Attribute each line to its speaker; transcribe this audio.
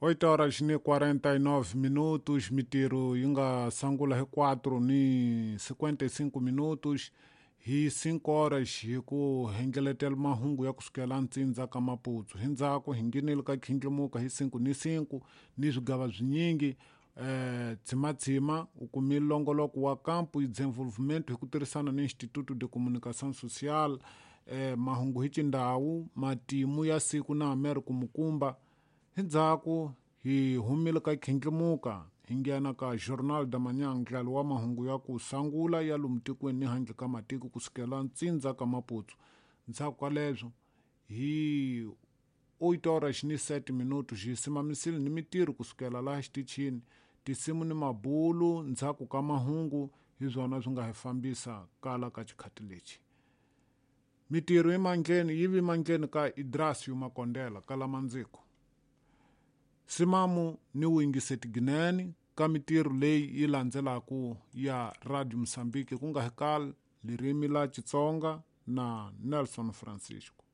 Speaker 1: 8 horas ni 49 minutos, mitirho yi nga sungula hi 4 ni 55 minutos, hi 5 horas hi ku hengeletela mahungu ya kusukela ntsindza ka Maputo. Hi ndzhaku hi nghenile ka khindlimuka hi 5 ni 5 ni swigava swinyingi. Tsimatsima u kumile longoloko wa kampo y desenvolvimento hi ku tirhisana ni Instituto de Comunicação Social, mahungu hi xindhawu, matimu ya siku na Americo Mukumba. Hi ndzhaku hi humile ka khindlimuka hi nghena ka Jornal da Manhã, ndlalo wa mahungu ya ku sungula ya lomu tikweni ni handle ka matiko kusukela ntsindza ka Maputo. Ndzhaku ka leswo hi 8 horas ni 7 minutos hi simamisile ni mitirho kusukela laha xitichini, tinsimu ni mabulu ndzhaku ka mahungu hi swona swi nga hi fambisa kala ka xikhati lexi. Mitirho emandleni yi vi mandleni ka Idrasio Makondela kala mandziko. Simamu ni wuyingiseti ginene ka mitirho leyi yi landzelaka ya Radio Mozambique ku nga hi kali ririmi la Xitsonga na Nelson Francisco.